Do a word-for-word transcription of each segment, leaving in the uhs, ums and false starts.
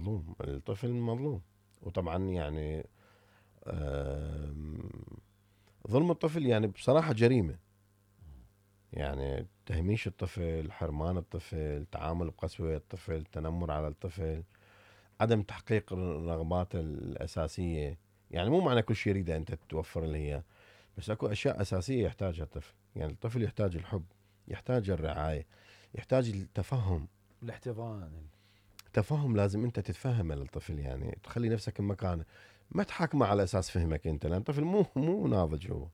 مظلوم، الطفل مظلوم. وطبعا يعني ظلم الطفل يعني بصراحة جريمة. يعني تهميش الطفل، حرمان الطفل، تعامل بقسوة الطفل، تنمر على الطفل، عدم تحقيق رغباته الأساسية. يعني مو معنى كل شيء يريده أنت توفر له إياه، بس أكو أشياء أساسية يحتاجها الطفل. يعني الطفل يحتاج الحب، يحتاج الرعاية، يحتاج التفهم، الاحتضان. تفهم لازم أنت تتفهم للطفل، يعني تخلي نفسك بمكانه، ما تحاكمه على أساس فهمك أنت، لأن الطفل مو مو ناضج هو،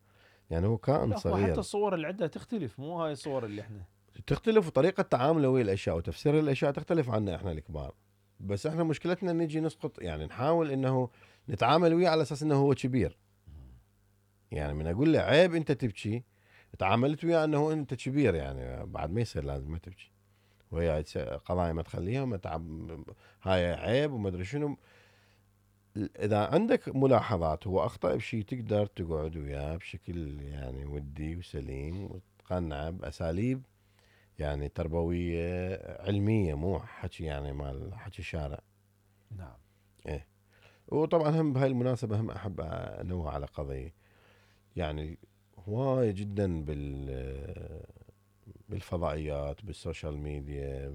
يعني هو كائن لا، هو صغير. حتى الصور اللي عندها تختلف، مو هاي الصور اللي احنا تختلف، وطريقة تعامله ويا الأشياء وتفسير الأشياء تختلف عنا إحنا الكبار. بس إحنا مشكلتنا نجي نسقط، يعني نحاول إنه نتعامل وياه على أساس إنه هو كبير. يعني من أقول له عيب أنت تبكي، تعاملت وياه إنه أنت كبير، يعني بعد ما يصير لازم ما تبكي، وهي قضايا ما تخليها وما تعب، هاي عيب وما أدري شنو. إذا عندك ملاحظات هو أخطأ بشيء، تقدر تقعد وياه بشكل يعني ودي وسليم، وتقنعه بأساليب يعني تربوية علمية، مو حكي يعني مال حكي شارع. نعم. إيه. وطبعا هم بهاي المناسبة هم أحب أنوه على قضية، يعني هواية جدا بال بالفضائيات، بالسوشيال ميديا،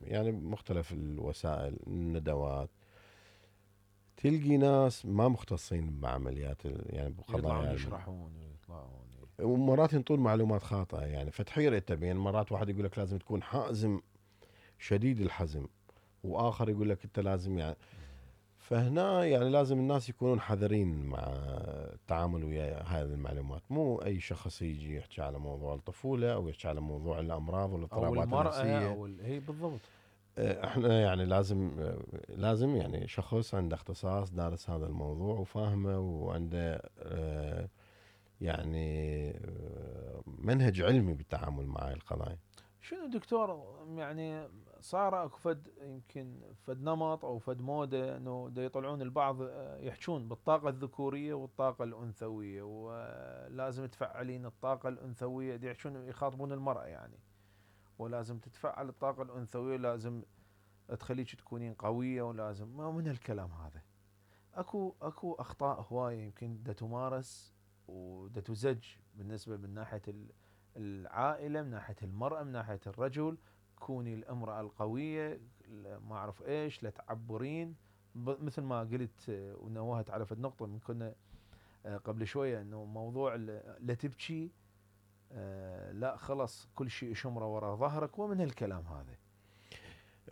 يعني مختلف الوسائل، الندوات، تلقي ناس ما مختصين بعمليات يعني بقضايا يطلعون الم- يشرحون ويطلعون. ومرات ينطون معلومات خاطئة، يعني فتحير انت بين مرات واحد يقول لك لازم تكون حازم شديد الحزم، واخر يقول لك انت لازم يعني. فهنا يعني لازم الناس يكونون حذرين مع التعامل ويا هذه المعلومات. مو اي شخص يجي يحكي على موضوع الطفولة او يحكي على موضوع الامراض او والاضطرابات المرأة النفسية. او ال... هي بالضبط. احنا يعني لازم لازم يعني شخص عنده اختصاص دارس هذا الموضوع وفاهمه وعنده اه، يعني اه، منهج علمي بالتعامل مع هاي القضايا. شنو دكتور، يعني صار اكو فد يمكن فد نمط او فد موده انه دا يطلعون البعض يحجون بالطاقه الذكوريه والطاقه الانثويه، ولازم تفعلين الطاقه الانثويه، دا يحجون يخاطبون المراه يعني، ولازم تتفعل الطاقه الانثويه، لازم تخليك تكونين قويه، ولازم ما من الكلام هذا. اكو اكو اخطاء هوايه يمكن دا تمارس ودا تزج بالنسبه من ناحيه العائله، من ناحيه المراه، من ناحيه الرجل. كوني الامراه القويه، ما اعرف ايش، لا تعبرين مثل ما قلت ونوهت على فد نقطه من كنا قبل شويه، انه موضوع لا تبكي، لا خلص كل شيء شمره وراء ظهرك، ومن هالكلام هذا.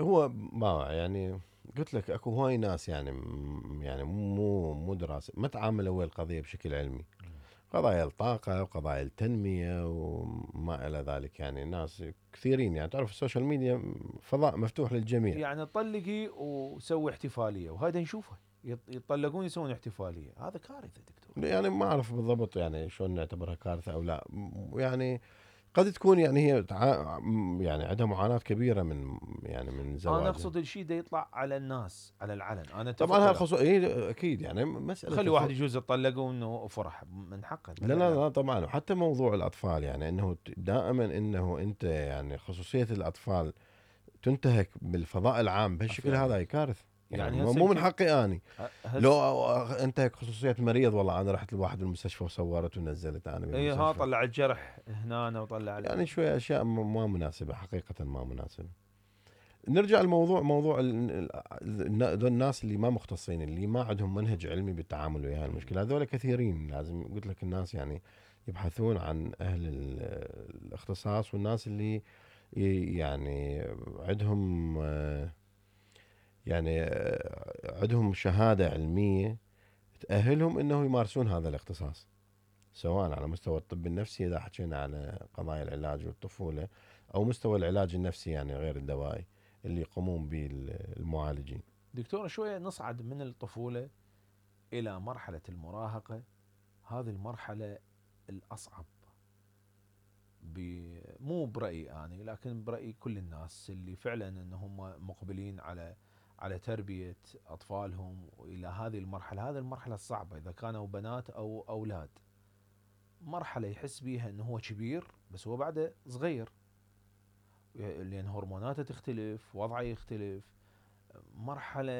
هو ما يعني قلت لك اكو هواي ناس يعني يعني مو مو دراسه ما تعاملوا ويا القضيه بشكل علمي. قضايا الطاقة وقضايا التنمية وما إلى ذلك، يعني ناس كثيرين، يعني تعرف السوشيال ميديا فضاء مفتوح للجميع. يعني طلقي وسوي احتفاليه، وهذا نشوفه يطلقون يسوون احتفاليه، هذا كارثه دكتور. يعني ما أعرف بالضبط يعني شلون نعتبرها كارثة أو لا، يعني قد تكون يعني هي تع... يعني عندها معاناة كبيرة من يعني من انا زواجها. اقصد الشيء ده يطلع على الناس على العلن، انا طبعا اتفق هذا وياك. خصو... إيه أكيد يعني مسألة خلي واحد الخ... يجوز يطلق وانه فرح من حقه، لا بلا لا لا. لا طبعا. وحتى موضوع الأطفال، يعني أنه دائما أنه أنت يعني خصوصية الأطفال تنتهك بالفضاء العام بهالشكل هذا، فعلا. هي كارثة. يعني يعني هسه مو من يمكن حقي اني هسه لو انتهك خصوصية مريض، والله انا رحت لواحد المستشفى وصورت ونزلت انا اي ها بالمستشفى. طلع الجرح هنا وطلع ال... يعني شوية اشياء ما مناسبة، حقيقة ما مناسبة. نرجع لموضوع موضوع ال- ال- ذول الناس اللي ما مختصين، اللي ما عندهم منهج علمي بالتعامل ويا المشكلة، هذول كثيرين. لازم قلت لك الناس يعني يبحثون عن اهل ال- الاختصاص، والناس اللي ي- يعني عندهم آه، يعني آه، عندهم شهادة علمية تأهلهم انه يمارسون هذا الاختصاص، سواء على مستوى الطب النفسي اذا حكينا على قضايا العلاج والطفولة، او مستوى العلاج النفسي يعني غير الدوائي اللي يقومون به المعالجين. دكتور شويه نصعد من الطفوله الى مرحله المراهقه. هذه المرحله الاصعب، مو برأيي أنا لكن برأي كل الناس اللي فعلا أنهم مقبلين على على تربية أطفالهم إلى هذه المرحلة. هذه المرحلة الصعبة إذا كانوا بنات أو أولاد. مرحلة يحس بيها أنه هو كبير بس هو بعده صغير، لأن هرموناته تختلف، وضعه يختلف. مرحلة